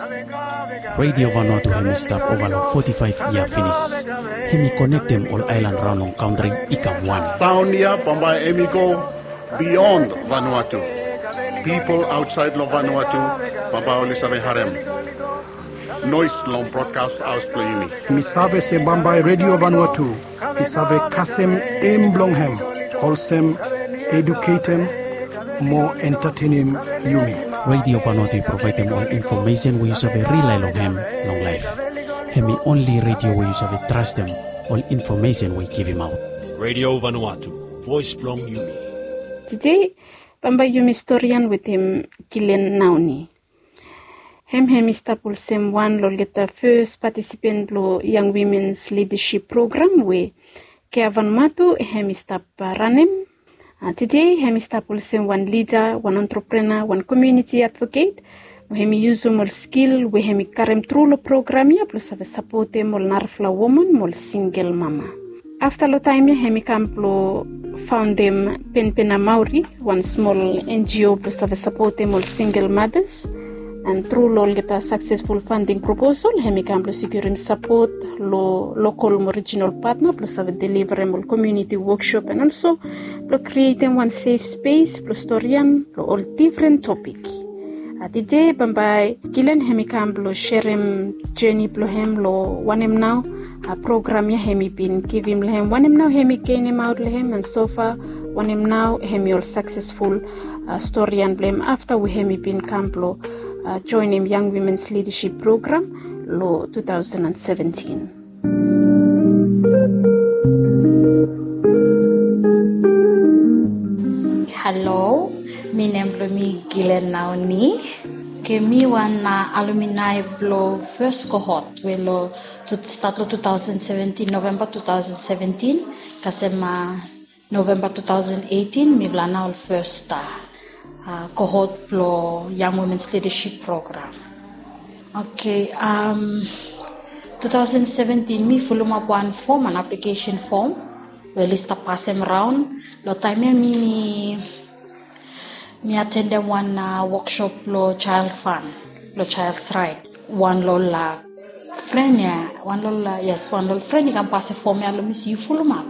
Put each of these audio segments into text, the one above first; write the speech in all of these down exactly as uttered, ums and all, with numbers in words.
Radio Vanuatu hem i stap ova long foti faef yia finis. Hem i konektem ol aelan raon long kantri i kam wan. Saon ya bambae hem i go bion Vanuatu. Pipol aotsaed long Vanuatu bambae oli save harem noes long brodkas haos blong yumi. Mi save se bambae Radio Vanuatu i save kasem em blong hem olsem eduketem mo entatenem yumi. Radio Vanuatu i provaedem ol infomesen we yu save rilae long hem long laef. Hem i onli radio we yu save trastem ol infomesen we i givimaot. Radio Vanuatu, voes blong yumi. Tede bambae yumi storian wetem Gilen Naoni. Hem hem i stap olsem wan long olgeta fes patisipen blong Young Women's Leadership Program we Kea Vanuatu hem i stap ranem. Tede hem i stap olsem wan lida, wan entrepreneur, wan komuniti advoket, mo hem i yusum ol skil we hem i karem tru long program ya blong save sapotem ol narafala woman mo ol singel mama. Afta long taem ya hem i kam blong faondem Penpena Maori, wan smol N G O blong save sapotem ol singel matas. An tru long olgeta saksesful fanding proposal hem i kam blong sikurim sapot long lokol mo rijinal patna blong save deliverem ol komuniti wokshop an olso blong krietem wan sef spes blong storian long ol difren topik. Tede bambae Gilen hem i kam blong serem jeni blong hem long wanem nao program ya hem i bin givim long hem, wanem nao hem i genemaot long hem, an sofa wanem nao hem i ol saksesful storian blong hem afta we hem i bin kam blong joenem Young Women's Leadership Program long two thousand and seventeen. Halo, mi nem blong mi Gilen Naoni. Ke mi wan alumni blong fes kohot we long stat long two thousand seventeen, November two thousand seventeen kasem November two thousand eighteen mifala nao ol fes kohot blong Young Women's Leadership Program. Oke, two thousand seventeen mi fulumap wan fom, wan aplikesen fom we oli stap pasem raon. Long taem ya mi mi mi atendem wan wokshop blong Child Fund, blong Child's Right. Wan long ol fren ya, wan long ol, yes, wan long ol fren i kam pasem fom ya long mi se yu fulumap.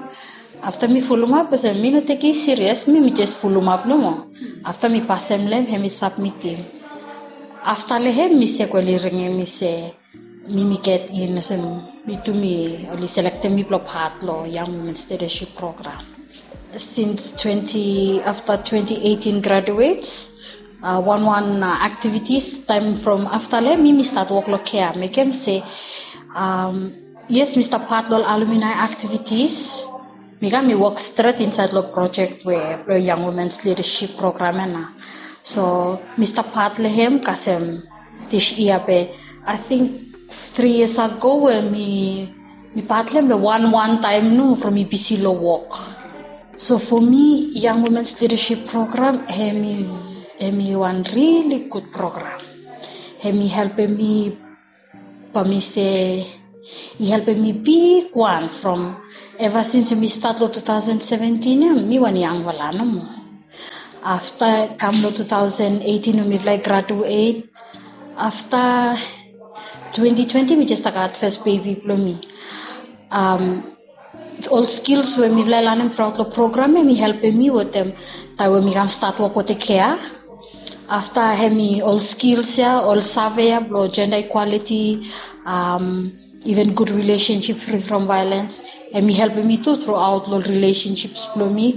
Afta mi fulumap olsem mi no tekem i sirias, mi mi jes fulumap nomo. Afta mi pasem long hem, hem i sapmitim. Afta long hem mi se kweli ringim mi se mi mi get in olsem mi tu mi oli selektem mi blong pat long Young Women's Leadership Program. Since twenty, afta twenty eighteen graduates, wan wan aktivitis taem from afta long hem mi mi stat wok long Kea, mekem se yes mi stap pat long ol alumni aktivitis. Mi kam mi wok stret insaed long projek we blong Young Women's Leadership Program ya nao. So mi stap pat long hem kasem dis yia be, ating tri yias ago we mi mi pat long hem be wan wan taem nomo from mi bisi long wok. So fo mi Young Women's Leadership Program hem i hem i wan rili gud program. Hem i helpem mi, bae mi se i helpem mi bigwan from eva sins we mi stat long two thousand seventeen ya mi wan yangfala nomo. Afta kam long two thousand eighteen we mifala i graduet, afta twenty twenty mi jes stap gat fes bebi blong mi. Ol skils we mifala i lanem truaot long program ya hem i helpem mi wetem taem we mi kam stat wok wetem Kea. Afta hem i ol skils ya, ol save ya blong jenda ikwaliti, iven gud rilesensip, fri from vaelens, hem i helpem mi tu truaot long ol rilesensip blong mi.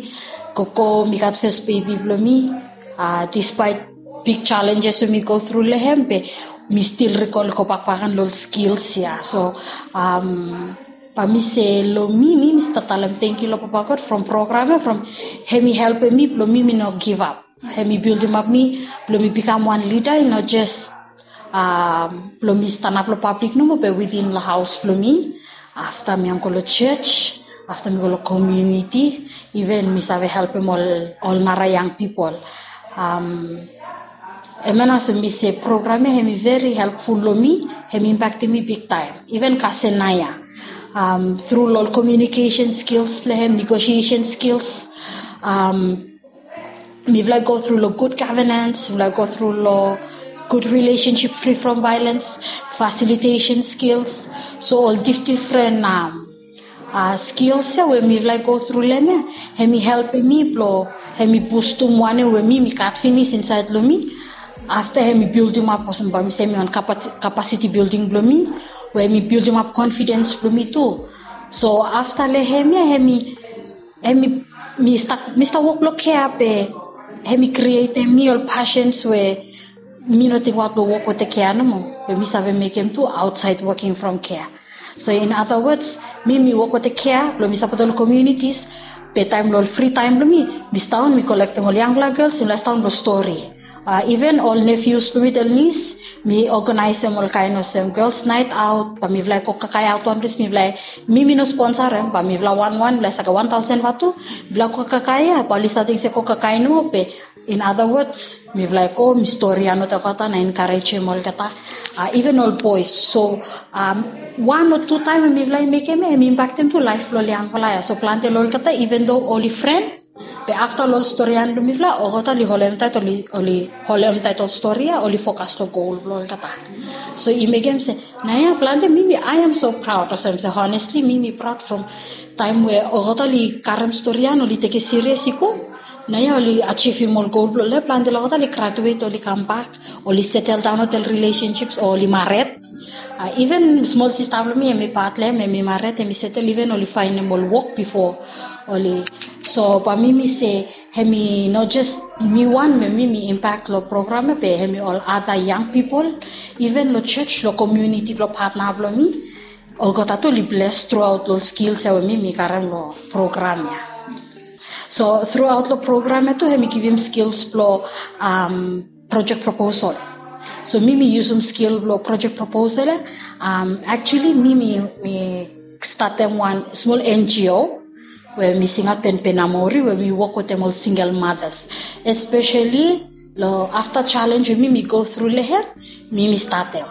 Gogo mi gat fes bebi blong mi, dispaet big jalenjes we mi go tru long hem be mi stil rikol gobak bakegen long ol skils ya. So bae mi se long mi mi mi stap talem tangkiu long Papa God from program ya from hem i helpem mi blong mi mi no givap. Hem i bildimap mi blong mi bikam wan lida, i no jes blong mi stanap long pablik nomo be witin long haos blong mi. Afta mi kam go long jos, afta mi go long komuniti, iven mi save helpem ol ol nara yang pipol. Hem ya nao olsem mi se program ya hem i veri helpful long mi, hem i impaktem mi bigtaem. Iven kasem naoia tru long ol komiunikesen skils blong hem, negosiesen skils, mifala i go tru long gud gavenens, mifala i go tru long good relationship, free from violence, facilitation skills. So ol dif- different um, uh, skills ya we mifala i go through long hem ya, hem i helpem mi blong hem i bustum wanem we mi mi gat finis insaed long mi. Afta hem i buildim ap olsem bae mi se mi wan capacity building blong mi, we hem i buildim ap confidence blong mi tu. So afta long hem ya hem i hem i mi stap mi stap wok long kea be hem i krietem mi ol passions we mi no tingbaot blong wok wetem kea nomo, be mi save mekem tu outside working from kea. So in other words, mi mi wok wetem kea blong mi sapotem ol communities, be taem long ol free taem blong mi, mi sidaon mi kolektem ol yangfala gels, mi lae sidaon blong stori. Uh, even ol nephews blong mi, ol niece, mi organizem ol kaen olsem girls night out, bae mifala i go kakae aot wan ples, mifala i mi mi no sponsorem, bae mifala wanwan, mifala i save gat wan taosen vatu, mifala go kakae ia, bae oli save ting se go kakae nomo, be in other words, mifala i go mi stori ia olgeta na enkarejem olgeta, uh, even ol boys. So um, wan o tu taem we mifala i mekem ia, hem i impaktem tu laef blong ol yangfala ia. So plante long olgeta, even though oli fren, be afta long ol stori ia blong mifala, olgeta oli holem taet, oli holem taet ol stori ia, oli fokas long gol blong olgeta. So i mekem se naoia plante mi mi, I am so proud olsem se honestly mi mi proud from taem we olgeta oli karem stori ia, oli tekem sirias i go. Naoia oli ajivim ol gol blong oli. Plante long olgeta oli graduate, oli kambak, oli seteldaon wetem ol relationships o oli mared. Uh, even smol sista blong mi, hem i pat long hem, hem i mared, hem i setel, even oli faenem ol wok bifo oli. So bae mi mi se hem i no jes mi wan we mi mi impact long program ia, be hem i ol other young people, even long church, long community blong patna blong mi, olgeta tu oli bless throughout long skills ia we mi mi karem long program ia. So throughout long program ia tu hem i givim skills blong um, project proposal. So mi mi yusum skill blong project proposal ia. Um, actually mi mi mi statem wan smol N G O we mi singaot Penpen Amori, we mi wok wetem ol single mothers, especially long afta challenge we mi mi go through long hem, mi mi statem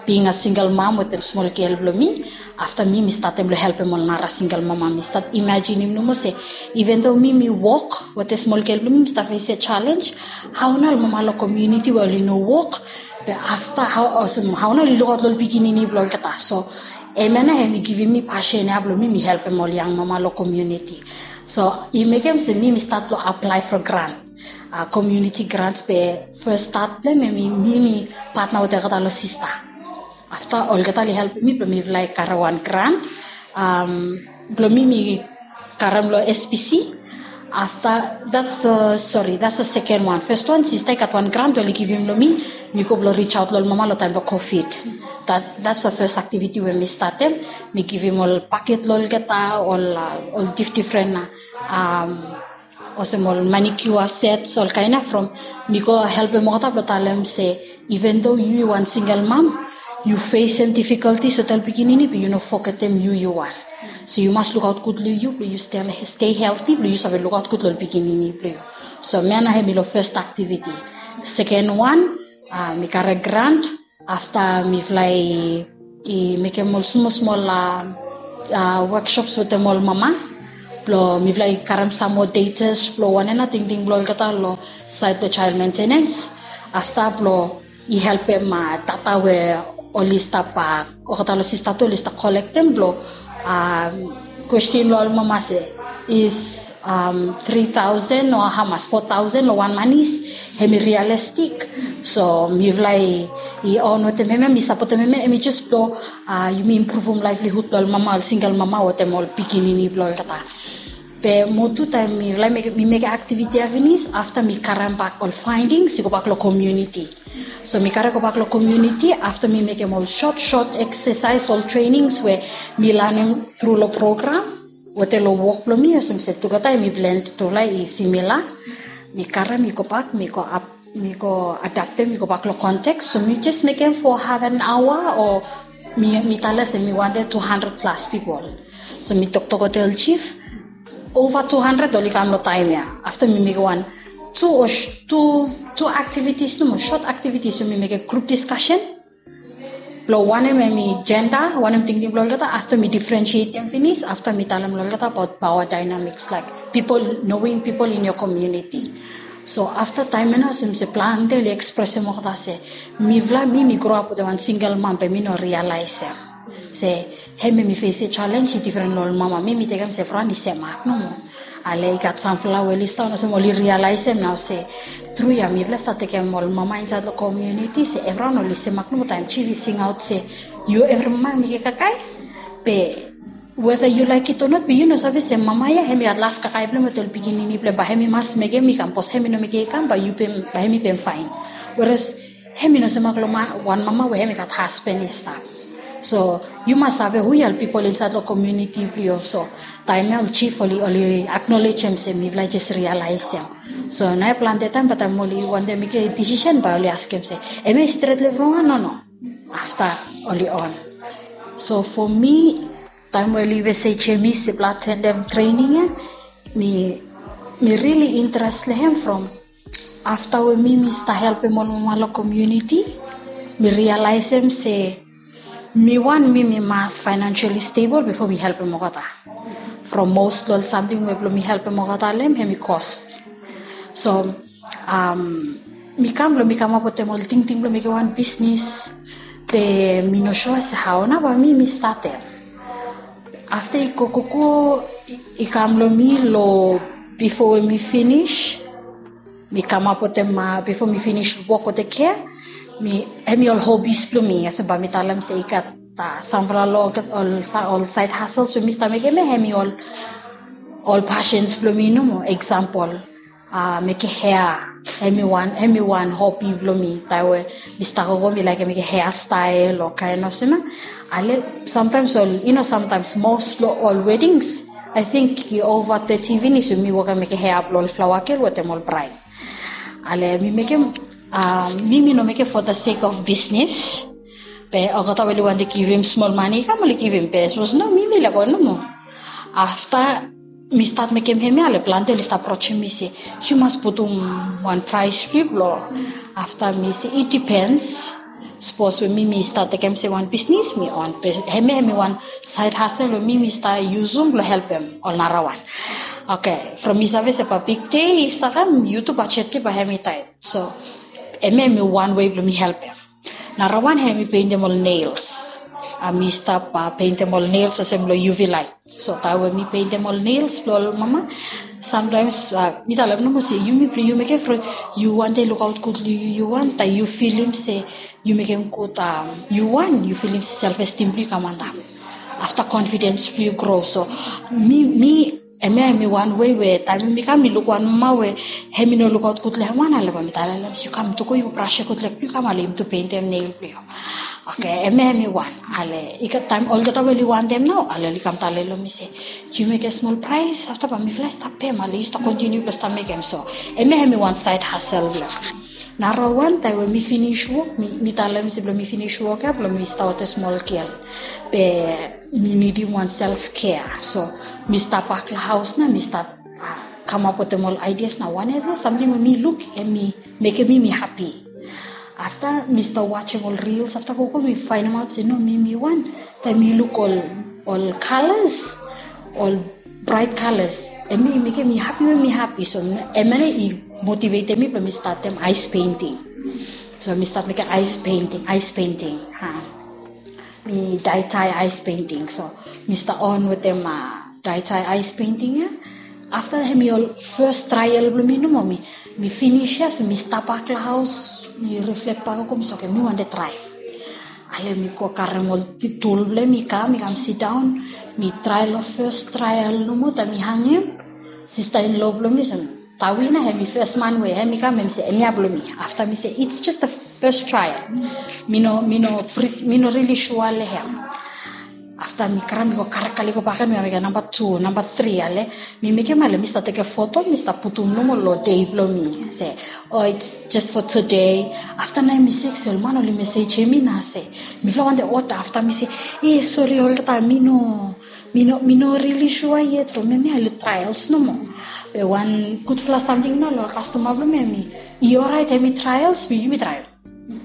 being a single mom wetem smol gel blong mi. Afta mi mi statem long helpem ol nara single mama, mi stat imajinim nomo se even though mi mi wok wetem smol gel blong mi, mi stap fesem challenge, hao nao ol mama long community we oli no wok, be afta hao nao oli lukaot long ol pikinini blong olgeta. So hemia nao hem i givim mi passion ia blong mi mi helpem ol yang mama long community. So i mekem se mi mi stat long apply for grant, uh, community grants, be first start blong hem i mi mi patna wetem olgeta long sista. Afta olgeta oli helpem mi blong mifala i karem wan grant, um, blong mi mi karem long S P C. Afta that's the, sorry, that's the second one. First one sista i gat wan grant we oli givim long mi, mi go blong reach out long ol mama long taem blong COVID. That, that's the first activity we mi statem. Mi givim ol paket long olgeta, ol uh, ol dif- different uh, um, olsem ol manicure sets, ol kaen ia, from mi go helpem olgeta blong talem se even though yu wan single mom, yu fesem difficulties wetem ol pikinini, be yu no fogetem yu yu wan. So yu mas lukaot gud long yu blong yu stay healthy blong yu save lukaot gud long ol pikinini blong yu. So hemia nao hem i long first activity. Second one, uh, mi karem grant, afta mifala i mekem ol smol smol workshops wetem ol mama blong mifala i karem sam moa data blong wanem nao tingting blong olgeta long saed blong child maintenance. Afta blong i helpem data we oli stap, olgeta long sista tu oli stap kolektem blong kwestin long ol mama se is um, three thousand o hamas, four thousand long wan manis, hem i realistic? So mifala i on wetem hemia, mi sapotem hemia, hem i jes blong uh, yumi impruvum livelihood blong ol mama, ol single mama wetem ol pikinini blong olgeta. Be mo tu taem mifala mi mekem activity ia finis, afta mi karem bak ol findings i go bak long community. So mi karem go bak long community afta mi mekem ol short short exercise, ol trainings we mi lanem tru long program wetem long wok blong mi, olsem se tugeta hem i blend, tufala i similar. Mi karem i go bak, mi go ap, mi go adaptem i go bak long context. So mi jes mekem for half an hour o mi, mi talem se mi wantem two hundred plus people. So mi toktok wetem ol chief, over two hundred oli kam long taem ia. Afta mi mekem wan two o two, two activities nomo, short activities, so mi mekem group discussion blong wanem hem i gender, wanem tingting blong olgeta. Afta mi differentiatem finis, afta mi talem long olgeta abaot power dynamics, like people, knowing people in your community. So afta taem ya nao olsem se plante oli ekspresem olgeta se mifala, mi mi groap wetem wan singel mam be mi no rialaesem se hemia mi fesim jalenj i difren long ol mama. Mi mi tekem se evriwan i semak nomo. Ale i gat samfala we oli stap olsem oli rialaesem nao se tru ya mifala i stap tekem ol mama insaed long komuniti se evriwan oli semak nomo taem jif i singaot se yu evri mama i mekem kakae. Be weda yu laek it o not be yu no save se mama ya hem i gat las kakae blong hem wetem ol pikinini blong hem bae hem i mas mekem i kam bikos hem i no mekem i kam bae yu pem bae hem i pem faen. Weres hem i no semak long wan mama we hem i gat hasben i stap. So yu mas save hu ya ol pipol insaed long komuniti blong yu. So taem ya ol jif oli oli aknolejem se mifala i jes rialaesem. So nao plante taem bae taem oli wantem mekem disisen bae oli askem se hemia i stret long evriwan o no. Afta oli on. So fo mi taem we oli mesejem mi se blong atenem trening ya, mi mi rili interes long hem from afta we mi mi stap helpem ol mama long komuniti, mi rialaesem se mi wan mi mi mas faenansiali stebol bifo mi helpem olgeta. From mos long ol samting we blong mi helpem olgeta long hem hem i kos. So mi kam blong mi kamap wetem ol tingting blong mekem wan bisnis. Be mi no sua se hao nao bae mi mi statem. Afta i go gogo i kam long mi long bifo we mi finis, mi kamap wetem bifo mi finis wok wetem kea, mi hem i ol hobis blong mi olsem bae mi talem se i gat samfala long ol saed hasel we mi stap mekem ya hem i ol ol pasens blong mi nomo. Eksampol, mekem hea, hem i wan hem i wan hobi blong mi taem we mi stap gogo mi laekem mekem hea stael o kaen olsem ya. Ale samtaems ol i no samtaems mos long ol wedings, ae ting i ova teti finis we mi wokem mekem hea blong ol flaoa gel wetem ol braed. Ale mi mekem mi mi no mekem fo the sek of bisnis. Be olgeta we oli wantem givim smol mane i kam oli givim be sapos no mi mi laek go nomo. Afta mi stat mekem hemia ale plante oli stap aprojem mi se yu mas putum wan praes blong yu blong. Afta mi se i dipens. Sapos we mi mi stat tekem se wan bisnis mi on be hemia hem i wan saed hasel we mi mi stap yusum blong helpem ol narawan. Oke, from mi save se bae bigde i stap kam yu tu bajet blong yu bae hem i taet. So hemia hem i wan wei blong mi helpem. Narawan hem i peintem ol nels. Mi stap peintem ol nels olsem long uv light. So taem we mi peintem ol nels blong ol mama, samtaems mi talem nomo se yumi blong yu mekem from yu wantem lukaot gud long yu yu wan taem yu filim se yu mekem gud, yu wan yu filim se self estim blong yu i kam antap. Afta konfidens blong yu gro. So mi mi hemia hem i wan wei we taem mi kam mi luk wan mama we hem i no lukaot gud long hem wan ale bae mi talem se yu kam tu go yu brasem gud leg blong yu kam ale yumi tu peintem nel blong yu. Oke, hemia hem i wan. Ale i gat taem olgeta we oli wantem nao ale oli kam talem long mi se yu mekem smol praes afta bae mifala i stap pem ale yu stap kontiniu blong stap mekem. So hemia hem i wan saed hasel blong narawan taem we mi finis wok mi talem se blong mi finis wok ya blong mi stap wetem smol gel. Be mi nidim wan self kea. So mi stap bak long haos nao mi stap kamap wetem ol aidias nao wan ya nao samting we mi luk hem i mekem mi mi hapi. Afta mi stap wajem ol rils afta gogo mi faenemaot se no mi mi wan taem mi luk ol ol kalas, ol braet kalas, hem i mekem mi hapi we mi hapi. So hemia nao i motivetem mi blong mi statem aes peinting. So mi stat mekem aes peinting aes peinting. Mi daetae aes peinting. So mi stap on wetem daetae aes peinting ya. Afta hem i ol fes trael blong mi nomo. Mi finis ya so mi stap bak long haos mi riflek bak gogo mi se oke mi wantem trae. Ale mi go karem ol tul blong hem i kam i kam sidaon. Mi trae long fes trael nomo taem mi hangem, sista in lo blong mi so tawi nao hem i fes man we hem i kam hem i se hemia blong mi. Afta mi se it's just a fes trael. Mi no mi no mi no rili sua long hem. Afta mi kram mi go karekale go baken mi kam mekem namba tu namba tri ale mi mekem ale mi stap tekem foto mi stap putum nomo long dei blong mi se o it's just for today. Afta nao mi sek se ol man oli mesejem mi nao se mifala wantem oda afta mi se e sori olgeta mi no mi no mi no rili sua yet from hemia oli traels nomo. Be wan gudfala samting nao long kastoma blong mi hem i oraet hem i traels be yumi trael.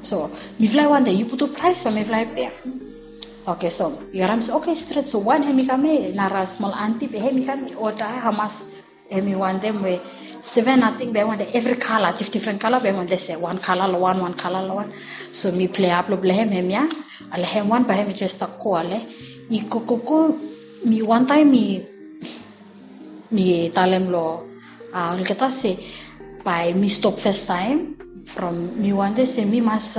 So mifala i wantem yu putum praes bae mifala i pem. Oke so i harim se oke stret so wan hem i kam ya nara smol anti be hem i kam i oda hamas Hemi wantem we seven ating be hemi wantem evri kala, difdifren kala be hemi wantem se wan kala long wan, wan kala long wan. So mi pilai ap long blong hem, hemia. Ale hem wan bae hemi jes stap go ale. I go go go, mi wantaem mi mi talem long olgeta se bae mi stop fastaem. From mi wantem se mi mas,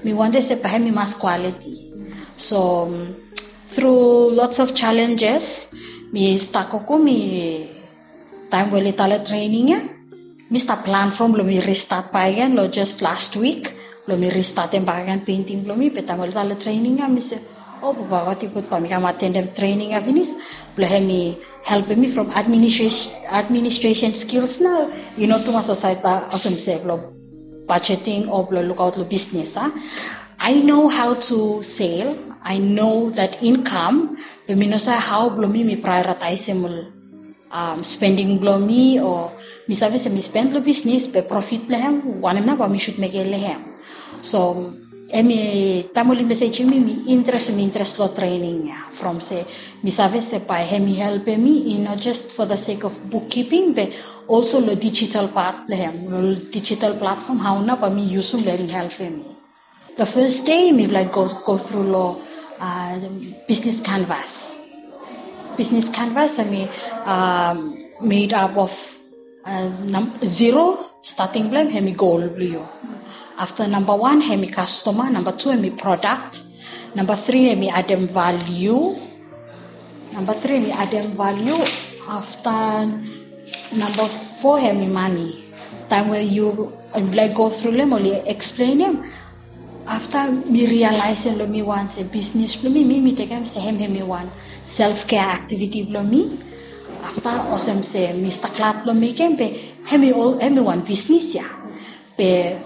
mi wantem se bae mi mas kwaliti. So tru lots of challenges, mi stap gogo, mi taem we oli talem trening ya, mi stap plan from blong mi ristat bakegen long jes last wik blong mi ristatem bakegen penting blong mi. Be taem oli talem trening ya, mi se, o papa, wati gud bae mi kam atendem trening ya finis blong hemi helpem mi from administration skills nao. I no tumas olsem se blong budgeting o blong lukaot long bisnis a. I know how to sale, I know that income, be mi no save hao blong mi mi prioritaisem ol spending blong mi, o mi save se mi spend long bisnis be profit blong hem wanem nao bae mi should mekem long hem. So hemi taem oli mesejim mi, mi interes, mi interes long trening ya from se mi save se bae hemi helpem mi i no jes for the sake of bookkeeping be also long digital part blong hem, long digital platform, hao nao bae mi yusum blong hemi helpem mi. The first day mifala i go tru long business canvas. Business canvas hemi made up of zero, starting blong hem hemi goal blong yu. Afta namba wan hemi customer, namba tu hemi product, namba tri hemi adem value, namba tri hemi adem value. Afta namba fo hemi mane. Taem we yu laik go tru long hem oli eksplenem, afta mi rialaesem long mi wan se bisnis blong mi, mi mi tekem se hem hemi wan self care activity blong mi. Afta olsem se mi stap glad blong mekem be hemi wan bisnis ya. Be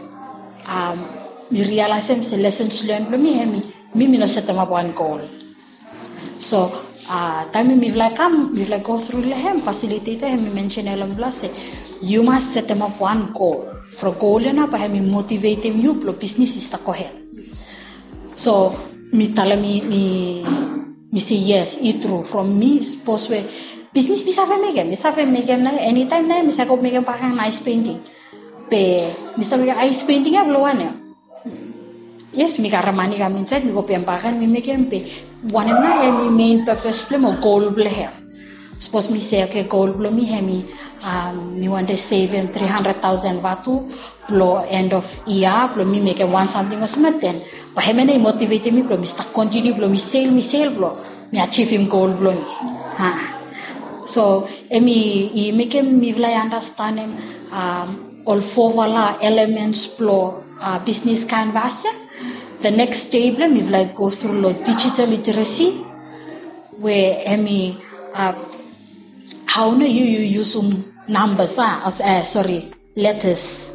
mi rialaesem se lessons learned blong mi hemi, mi mi no setemap wan goal. So taem mifala i kam, mifala i go tru long hem, facilitator hemi mensenem long mifala se yu mas setemap wan goal. From goal ya nao bae hemi motivetem yu blong bisnis i stap gohed. So mi talem, mi mi se yes, i tru. From mi sapos we bisnis mi save mekem, mi save mekem nao, enitaem nao mi save go mekem bakegen ice painting. Be mi stap mekem ice painting ya blong wanem? Yes, mi karem mane kam insaed, mi go pem bakegen, mi mekem, be wanem nao hemi main purpose blong hem o goal blong hem? Sapos mi se, oke, goal blong mi hemi mi wantem sevem tri handred taosen vatu blong end of year blong mi mekem wan samting olsem ya, den bae hemia nao i motivetem mi blong mi stap kontiniu blong mi sel, mi sel blong mi ajivim goal blong mi. So hemi mekem mifala i andastanem ol fofala elements blong bisnis canvas ya. The next day blong hem mifala i go tru long digital literacy, we hemi hao nao yu yu yusum numbers a, sori, letters.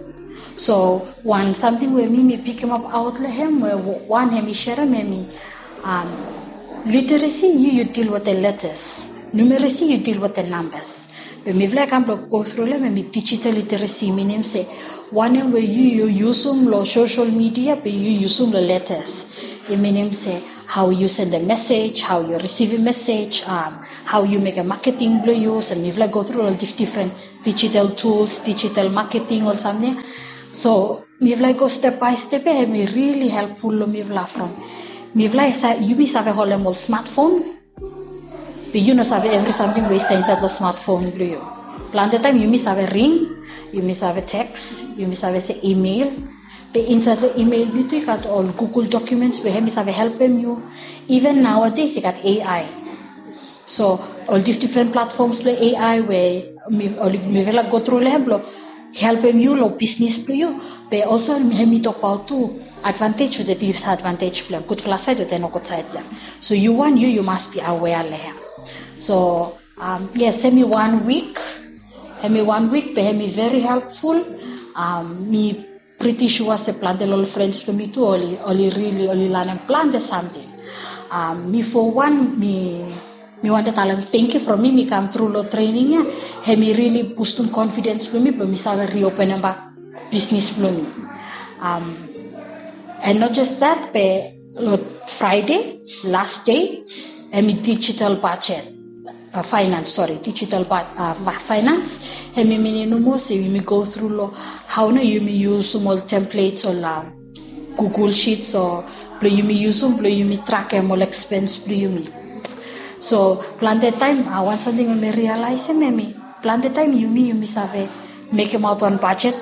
So wan samting we mi mi pikimap aot long hem, we wan hemi serem hemi literacy, yu yu deal wetem letters. Numeracy, yu deal wetem numbers. Be mifala i kam blong go tru long hem hemi digital literacy, minim se wanem we yu yu yusum long social media be yu yusum long letters. I minim se hao yu sendem mesej, hao yu risivim mesej, hao yu mekem maketing blong yu. So mifala i go tru long difdifren digital tools, digital maketing, ol samting ya. So mifala i go step bae step ya, hemi rili helpful long mifala from mifala i sa, yumi save holem ol smartphone, be yu no save evri samting we i stap insaed long smartphone blong yu. Plante taem yumi save ring, yumi save teks, yumi save se email. Be insaed long email, yu tu i gat ol Google Documents we hemi save helpem yu. Even nowadays i gat A I. So ol difdifren platforms long A I we mifala i go tru long hem blong helpem yu long bisnis blong yu. Be also hemi tokbaot tu advantage wetem disadvantage blong hem, gudfala saed wetem nogud saed blong hem. So yu wan, yu yu mas be aware long hem. So yes, hemi wan wik, hemi wan wik be hemi very helpful. Mi priti sua se plante long ol frens blong mi tu oli, oli rili oli lanem plante samting. Mi fo wan mi mi wantem talem tangkiu from mi mi kam tru long trening ya. Hemi rili bustum confidence blong mi blong mi save riopenem bak bisnis blong mi. And not just that, be long Friday, last day, hemi digital budget. uh, finance, sorry, digital, but uh, finance, hemi minim nomo se yumi go through lo hao nao yumi yusum ol templates o la Google Sheets o blo yumi yusum blo yumi trakem ol expense blo yumi. So plante taem, uh, wan samting we mi realize hemi, plante taem yumi yumi save mekem aot wan budget,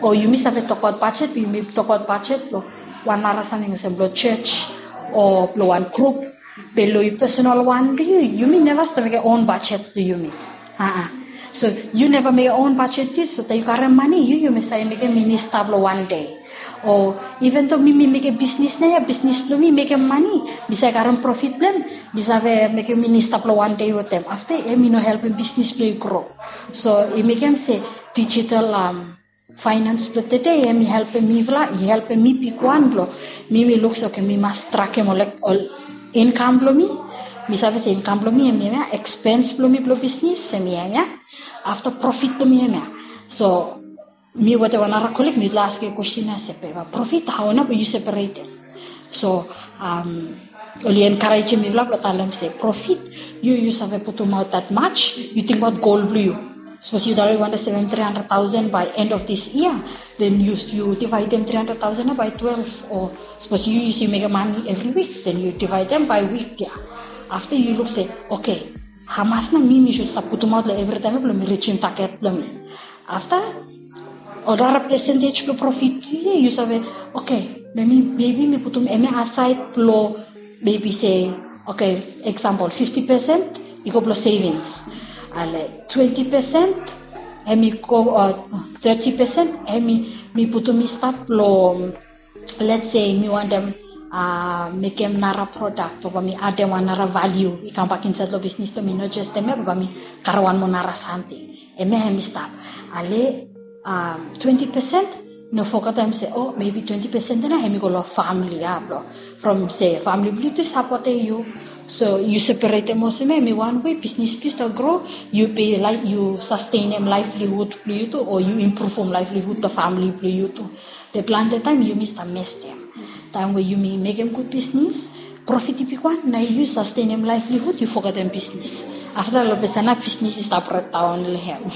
o yumi save tokbaot budget, yumi tokbaot budget blo wan nara samting olsem blo church o blo wan group. Be lo yu personal wan blo yu, yumi neva stap mekem own budget blo yumi. Aa. So yu neva mekem own budget blo yu, so taem yu karem mane, yu yumi save mekem minista blo wan dei. O even though mi mi mekem bisnis nao ia, bisnis blo mi mekem mane, mi save karem profit blo hem, mi save mekem minista blo wan dei wetem. Afta hemi no helpem bisnis blo yu gro. So i mekem se digital, um, finance blo tede hemi helpem mifala, i helpem mi bigwan blo mi mi luk se, okay, mi mas trakem ol, ol income blo mi. Mi save se income blo mi hemia, expense blo mi blo bisnis hemia. Afta profit blo mi hemia. So mi wetem wan nara colleague mifala askem kwestin ia se, be profit, hao nao be yu separetem? So, um, oli encouragem mifala blo talem se, profit, yu yu save putumaot that much, yu tingbaot goal blo yu. Sapos yu talem yu wantem sevem three hundred thousand by end of this year, then yu yu divaedem three hundred thousand ia by twelve, o sapos yu yu mekem mane evri wik, then yu divaedem by wik ia. Afta yu luk se, okay, hamas nao mi mi sud stap putumaot lo evri taem ia blo mi rijim target blo mi. Afta ol nara percentage blo profit ia yu save, okay, maybe mi putum hemia aside blo maybe se, okay, example, fifty percent i go blo savings. Ale twenty percent hemi go, uh, thirty percent hemi mi putum i stap blo, let's say mi wantem, uh, mekem nara product o bae mi adem wan nara value i kambak insaed lo bisnis blo mi, no jes hemia, bae mi karem wan moa nara samting. Hemia hemi stap. Ale, um, twenty percent, no fogetem se, o maybe twenty percent ia nao hemi go lo famili ia blo, from se famili blo yu tu i sapotem yu. So yu separetem olsem ia hemi wan wei bisnis blo yu stap gro, yu be laek yu sustenem livelihood blo yu tu o yu improvem livelihood blo famili blo yu tu. Be plante taem yumi stap mestem. Taem we yumi mekem gud bisnis, profit i bigwan, nao yu sustenem livelihood, yu fogetem bisnis. Afta lo ples ia nao bisnis i stap breakdaon lo hem.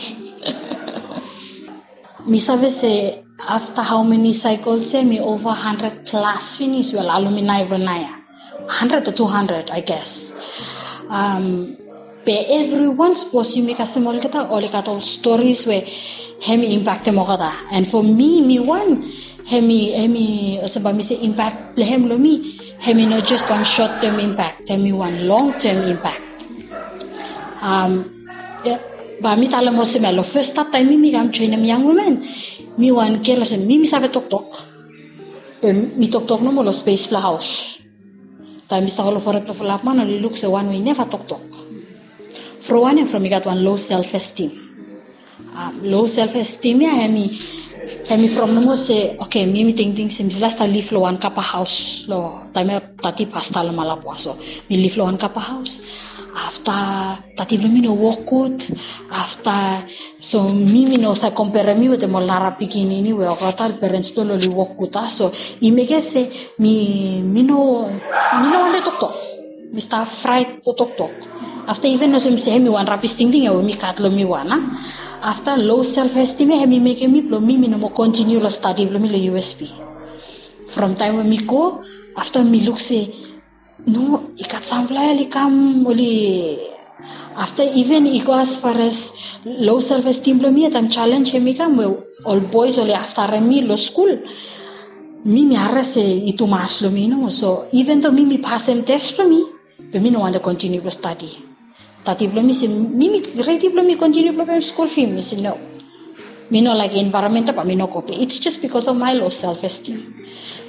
Mi save se afta hao meni cycles ia hemi over hundred plus finis we la alumni blo naoia. Hundred o two hundred, I guess. Um, be evriwan, sapos yumi kasem olgeta, oli gat ol stories we hemi impactem olgeta. And for mi, mi wan, hemi, hemi olsem bae mi se impact blo hem lo mi, hemi no jes wan short term impact, hemi wan long term impact. Um, ia, bae mi talem olsem ia, lo fes stap taem mi mi kam joenem Young Women, mi wan gel olsem mi mi save toktok. Be mi toktok nomo lo space blo haos. Taem mi stap go lo Fored blo Fulap Man, oli luk se wan we i neva toktok. From wanem? From i gat wan low self esteem. Um, low self esteem ia hemi, hemi from nomo se, okay, mi mi tingting se mifala stap liv lo wan kapa haos lo taem ia Tati pasta lo Malapua, so mi liv lo wan kapa haos. Afta Tati blo mi no wok gud. Afta, so mi mi no save komperem mi wetem ol nara pikinini we olgeta ol parents blo oli wok gud ia. So i mekem se mi, mi no, mi no wantem toktok. Mi stap fraet blo toktok. Afta iven olsem se hemi wan rabis tingting ia we mi gat lo mi wan ia. Afta low self esteem ia hemi mekem mi blo mi mi no moa kontiniu lo stadi blo mi lo U S P. From taem we mi go, afta mi luk se no, i gat samfala ia oli kam, oli, afta iven i go as far as low self esteem blo mi ia taem challenge hemi kam we ol boys oli aftarem mi lo skul. Mi mi harem se i tumas lo mi nomo. So even though mi mi pasem test blo mi, be mi no wantem kontiniu blo stadi. Tati blo mi se mi mi redi blo mi kontiniu blo pem skul fi mi, mi se no. Mi no laek environment ia, bae mi no go. Be it's just because of my low self esteem.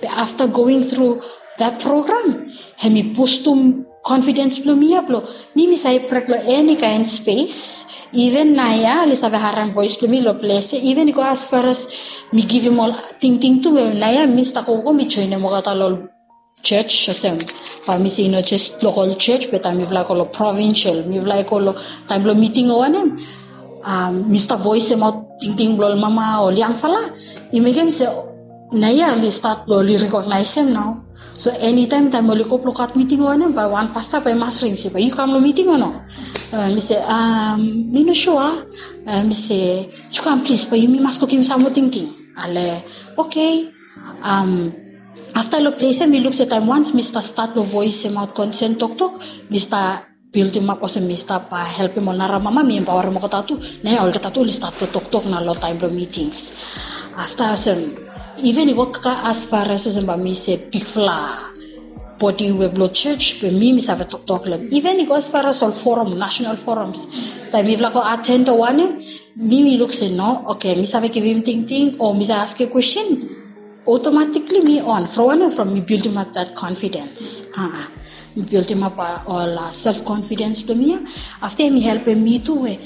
Be afta going through that program, hemi bustum confidence blo mi ia blo mi mi save prek lo eni kaen space. Even naoia oli save harem voes blo mi lo ples ia. Even i go as far as mi givim ol tingting tu, naoia mi stap gogo mi joenem olgeta lo ol church olsem, bae mi se i no jes lokal church, be taem mifala i go lo provincial, mifala i go lo taem blo miting o wanem, um, mi stap voesemaot tingting blo ol mama o ol yangfala. I mekem se Naoia oli stat blong oli rekognaesem nao. So enitaem taem oli go blong gat miting o wanem, bae wan pasta bae i mas ring se bae yu kam long miting o no. Mi se, mi no sua. Mi se, yu kam plis, bae yumi mas go givim sam moa tingting. Ale, oke. Afta long ples ya mi luk se taem wans mi stap stat long voesemaot konsen toktok, mi stap bildimap olsem mi stap helpem ol nara mama, mi empaorem olgeta tu. Naoia olgeta tu oli stat blong toktok nao long taem blong mitings. Afta olsem, iven i go as far as olsem bae mi se bigfala bodi we blong jos, be mi mi save toktok long hem. Iven i go as far as ol forum, national forums. Taem mifala go aten o wanem, mi mi luk se no, oke, mi save givim tingting o mi save askem kwestin, automatically mi on. From wanem? From mi bildimap that confidence. Mi bildimap ol self confidence blong mi ya. Afta hem i helpem mi tu we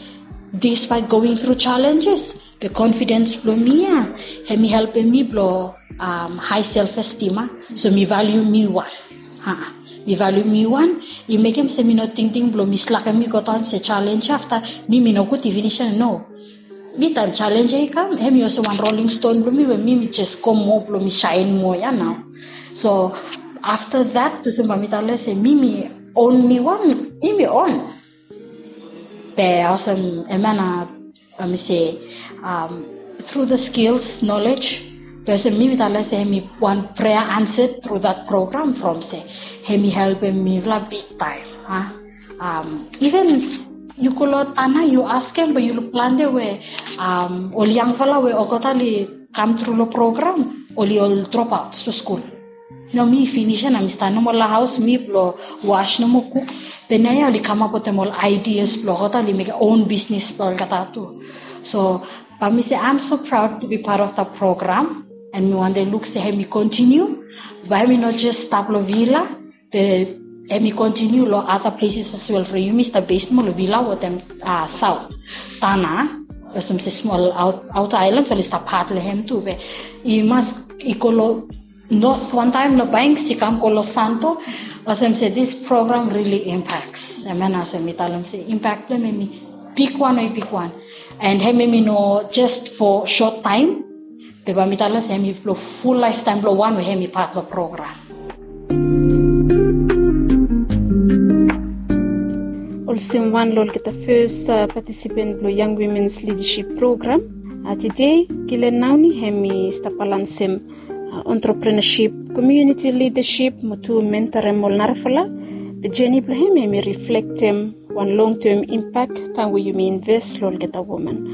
despite going through challenges, be confidence blong mi ya, hem i helpem mi blong high self esteem. So mi valiu mi wan. Mi valiu mi wan. I mekem se mi no tingting blong mi slakem mi godaon se challenge afta mi mi nogut i finis ya, no. Mi taem challenge ya i kam, hem i olsem wan rolling stone blong mi we mi mi jes go moa blong mi saen moa ya nao. So afta that olsem bae mi talem se mi mi on mi wan, mi mi on. Be olsem, hemia nao, mi se, through the skills, knowledge, be olsem mi mi talem se hem i wan prayer answered through that program from se hem i helpem mifala bigtaem. Iven yu go long Tanna yu askem be yu luk plante we ol yangfala we olgeta oli kam tru long program oli ol dropout long skul. Nao mi finis ya nao mi stap nomo long haos mi blong was nomo kuk. Be naoia oli kamap wetem ol ideas blong olgeta oli mekem own business blong olgeta tu. So bae mi se I'm so proud to be part of the program. And mi wantem luk se hem i continue, bae hem i no jes stap long villa, be hem i continue long other places as well. From yumi stap base nomo long villa wetem south Tanna, olsem se smol outer islands oli stap pat long hem tu, be i mas i go long north wantaem long Banks i kam go long Santo. Olsem se this program really impacts. Hemia nao olsem mi talem se impact blong hem hem i bigwan, we i bigwan. And hem hem i no just for short time. Be bae mi talem se hem i blong full lifetime blong wan we hem i pat long program. Olsem wan long olgeta fes participant blong Young Women's Leadership Program. Tede Gillian Nauni hem i stap balansem entrepreneurship, community leadership mo tu mentorem ol narafala. Be jeni blong hem hem i reflektem wan long term impact taem we yumi invest long olgeta woman.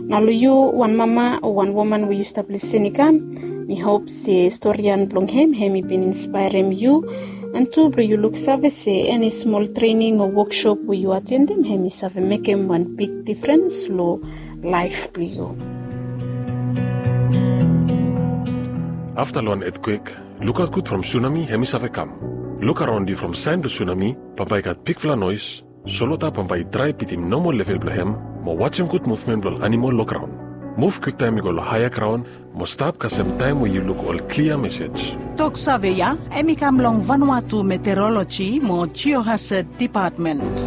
Nao long yu wan mama o wan woman we yu stap lisin i kam, mi hop se storian blong hem hem i bin inspaerem yu. And tu blong yu luksave se eni smol trening o woksop we yu atendem hem i save mekem wan big difrens long laef blong yu. Afta long wan etkwek, lukaot gud from sunami hem i save kam. Luk araon yu from saen blong sunami bambae i gat bigfala noes. Solwota bambae i drae bitim nomo level blong hem mo wajem gud muvmen blong ol animol long graon. Muv kwiktaem i go long haea graon mo stap kasem taem we yu luk ol klia mesej. Toksave ya hem i kam long Vanuatu Meteorology mo Geohazard Department.